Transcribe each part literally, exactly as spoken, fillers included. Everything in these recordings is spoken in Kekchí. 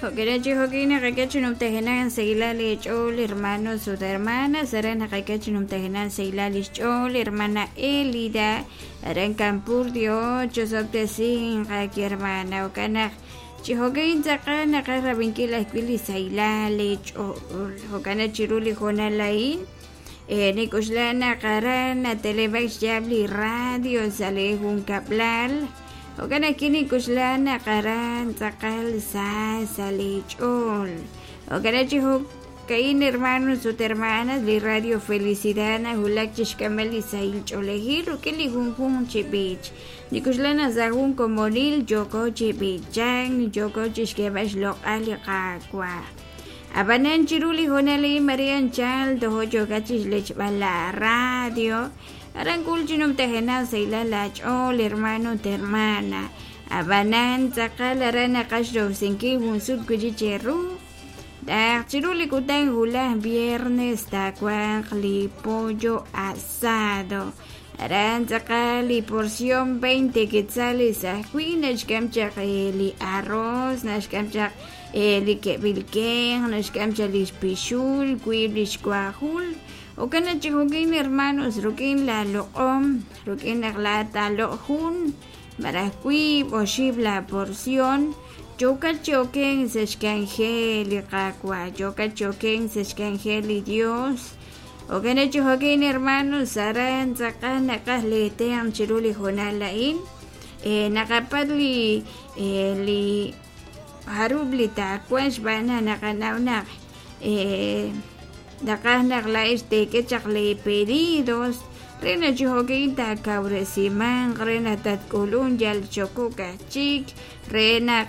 Jo'kena chi jo'kin naqak'e chi numtajenaq sahilal li ch'ool hermanos ut hermanas aran naqak'e chi numtajenaq sahilal lix ch'ool hermana Elida aran Campurdio ocho sobtesin qaki hermana jo'kan chi jo'kin tz'aqal naqaj rab'inkil ajwi' li sahilal li ch'ool jo'kan chiru li hoonal a'in nik'uxla naq aran nateleb'ak xyaab' li radio sa' li junkab'lal jo'kan ajwi' nik'uxla naq aran tz'aqal sa sa' li ch'ool jo'kan chi jo'ka'in hermanos ut hermanas li radio Felicidad najulak chixk'amb'al li sahil ch'oolejil rik'in li junjunq chi b'ich nik'uxla naq sa' jun komonil yooko chi b'ichank yooko chixk'eeb'al xloq'al li Qaawa' ab'anan chiru li hoonal a'in Maria anchal tojo yookat chixlechb'al la radio aran k'ul chi numtajenaq sahilal la ch'ool hermano ut hermana ab'anan tz'aqal aran naqaj xrowsinkil jun sut wi'chik cheru taq chiru li kutan wulaj viernes taawanq li pollo asado aran tz'aqal li porción veinte quetzales ajwi' naxk'am chaq li arroz naxk'am chaq li ke'b'il kenq naxk'am chaq li xpixul wiib' li xkuajul jo'kan chi jo'kin hermanos rik'in la loq'om rik'in naq la taaloq' jun malaj wiib' oxib' la porción yookat chi oken sa' xk'anjel li Qaawa' yookat chi oken sa' xk'anjel li Dios jo'kan chi jo'kin hermanos aran tz'aqal naqaj leetenq chiru li hoonal a'in naqapat li li jarub' li taawan xb'aan naq naqanaw naq naqaj naq la'ex teek'e chaq li pedidos re naq chi jo'kin taakawresimanq re naq tatk'ulun yal xokok ajchik re naq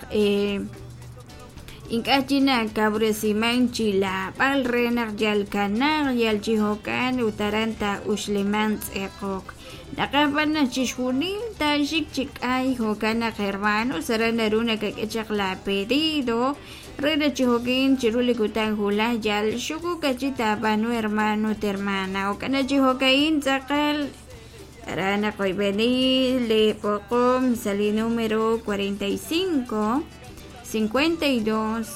ink'a' chi nakawresiman chi laab'al re naq yal kanaq yal chi jo'kan ut aran taa'uxliman tz'eqok naqaj b'an naq chixjunil taaxik chi k'ay jo'kan naq hermanos aran naru nakak'e chaq la pedido re naq chi jo'kin chiru li kutan wulaj yal xukuk achi taab'aanu hermano ut hermana jo'kan naq chi jo'ka'in tz'aqal aran naqoyb'eni li b'oqom sa' li número cuarenta y cinco cincuenta y dos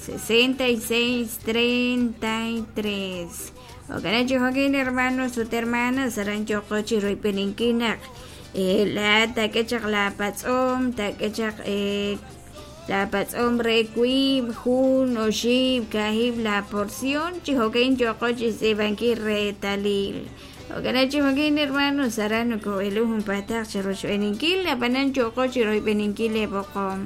sesenta y seis treinta y tres jo'kan chi jo'kin hermanos ut hermanas aran yo'qo chi royb'eninkil naq la taak'e chaq la patz'om taak'e chaq la patz'om re wiib' jun oxib' kajib' la porción chi jo'kin yo'qo chi xtz'iib'ankil reetalil jo'kan chi jo'kin hermanos aran noko'elu junpataq chi roxb'eninkil ab'anan yo'qo chi royb'eninkil li b'oqom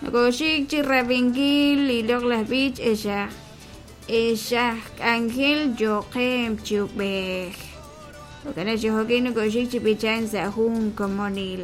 nokoxik chi rab'inkil li loq'laj b'ich exaj exaj k'anjel yo'qem chi ub'ej jo'kan chi jo'kin nokoxik chi b'ichan sa' jun komonil.